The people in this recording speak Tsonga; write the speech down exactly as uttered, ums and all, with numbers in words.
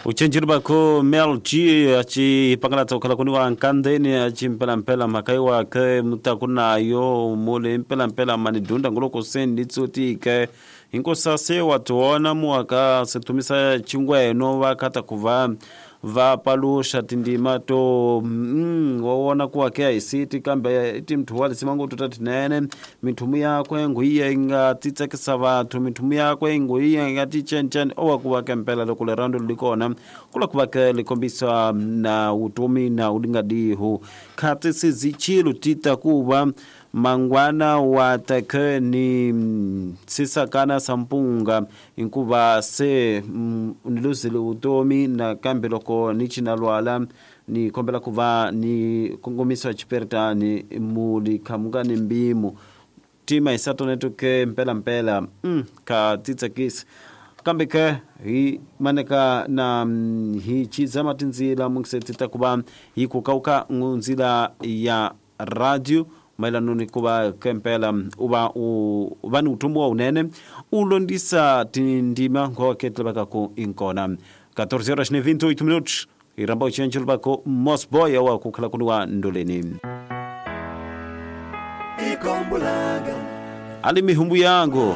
Uchenjiri bako Mel G achi pangala tokala kuni wa nkandeni achi mpela mpela makai wa ke mutakunayo mule mpela mpela manidunda ngoloko sendi tsoti ke inkosase watuona muaka setumisa chingweno vakata kuva va palusha tindima to mm, wawona kuwake aisiti kambe iti mthu walisima tuta tinene mithumu yakwe nguiye inga titsekisa vathu mithumu yakwe nguiye inga tichenchen owakuwake mpela loko lerando likona kula kuwake likombisa na utumi na udingadihu khati sizichilu tita kuva mangwana wa take ni sisakana sampunga inkuva se mm, niluzile utomi na kambe loko ni chinalwala ni kombela kuva ni kongomisa chiperitani muli khamuka ni mbimu tima isatoneto ke mpela mpela mm, ka titsekisa kambe ke hi maneka na mm, hi chizama tinzila mungisetita kuva hi kukauka nzila ya radio maelano ni kuva kempela uva u va ni utumbu wa unene u londisa tindima ngoke ku inkona catorze horas e vinte e oito minutos iramba uchenjelo bako Mosboy wa kukhala kuniwa ndoleni ali mihumbu yangu